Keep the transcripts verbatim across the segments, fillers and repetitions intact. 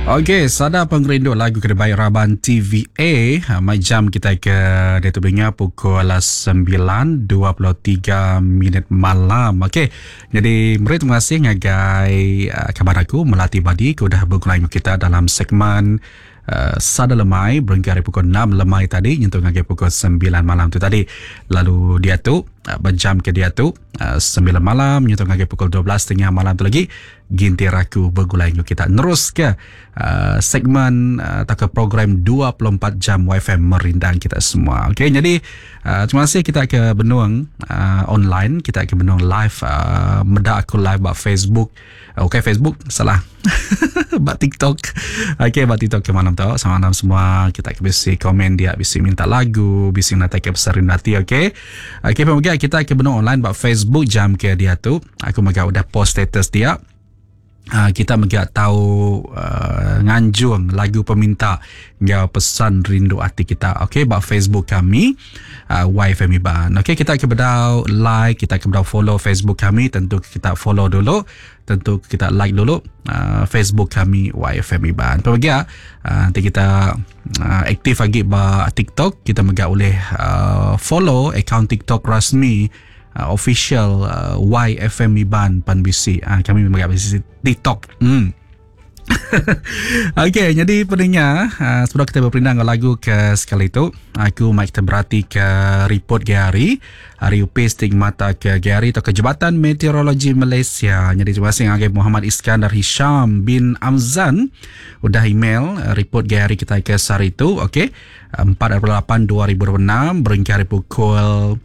Okey, sada pengerindu lagu ke dibai raban T V A. Ha, mai jam kita ke diatu beringa pukul sembilan dua puluh tiga minit malam. Okey, jadi meri terima kasih ngagai uh, kaban aku Melati Badi ke udah bergulai dengan kita dalam segmen uh, Sada Lemai berengkah dari pukul enam lemai tadi nyentuh ngagai pukul sembilan malam tu tadi. Lalu dia tu uh, berjam ke dia tu uh, sembilan malam nyentuh ngagai pukul dua belas tiga puluh malam tu lagi gintir aku bergulai dengan kita nerus ke uh, segmen uh, atau ke program dua puluh empat jam Y F M merindang kita semua. Okey, jadi uh, terima kasih kita ke Benung uh, online, kita ke Benung live uh, meda aku live bak Facebook. Okey, Facebook salah. Bak TikTok. Okey, bak TikTok ke malam tu. Sama malam semua kita ke bisi komen dia, bisi minta lagu, bisi nak ke pesarin hati, okey. Okey, pemoga kita ke Benung online bak Facebook jam ke dia tu. Aku mega udah post status dia. Uh, kita mega tahu uh, nganjung lagu peminta ngau pesan rindu hati kita. Okey, bak Facebook kami uh, Y F M Iban. Okey, kita ke bedau like, kita ke bedau follow Facebook kami, tentu kita follow dulu, tentu kita like dulu uh, Facebook kami Y F M Iban. Pemoga uh, nanti kita uh, aktif lagi bak TikTok, kita mega boleh uh, follow akaun TikTok rasmi Uh, official uh, Y F M Iban Pan B C. Uh, kami memang agak TikTok. Hmm. Okey, jadi pendengar, uh, sebelum kita berperindang lagu ke sekali itu, aku mai kita berhati ke report Gary, hari U P stigmata ke Gary atau ke Jabatan Meteorologi Malaysia. Jadi terima kasih ngagai Muhammad Iskandar Hisham bin Amzan udah email report Gary kita ke sehari itu, okey. empat lapan dua ribu dua puluh enam berengkah pukul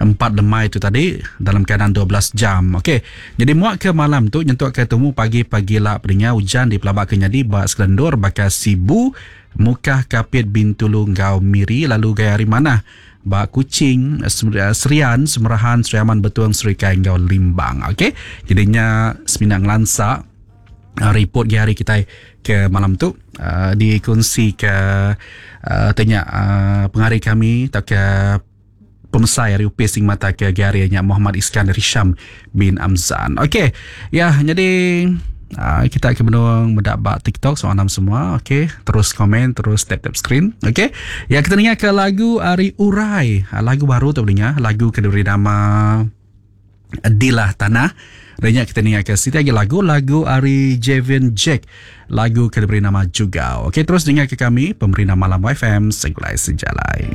empat lemai itu tadi dalam keadaan dua belas jam. Okey. Jadi muak ke malam tu nyentuk ke temu pagi-pagi lah pendengar hujan di Pelabak Kenyadi bak Selendur bakal Sibu Mukah Kapit Bintulu Ngau Miri lalu gaya hari mana bak Kuching Serian Semerahan Seriaman Betuang Serikai Ngau Limbang. Okey. Jadinya seminang lansa report hari kita ke malam tu uh, dikongsi ke uh, tanya uh, pengari kami atau ke pemesai hari U P Sing Mata ke Gary nya Muhammad Iskandar Hisham bin Amzan. Okey. Ya, jadi uh, kita akan menung mendak bak TikTok soalan semua. Okey, terus komen, terus tap-tap screen. Okey. Ya, kita dengar ke lagu Ari Urai. Lagu baru tu dengar, lagu ke diberi nama Dilah Tanah. Dan kita dengar ke sini lagi lagu lagu Ari Javian Jack, lagu ke diberi nama juga. Okey, terus dengar ke kami Pemerintah Malam Y F M Segulai Sejalai.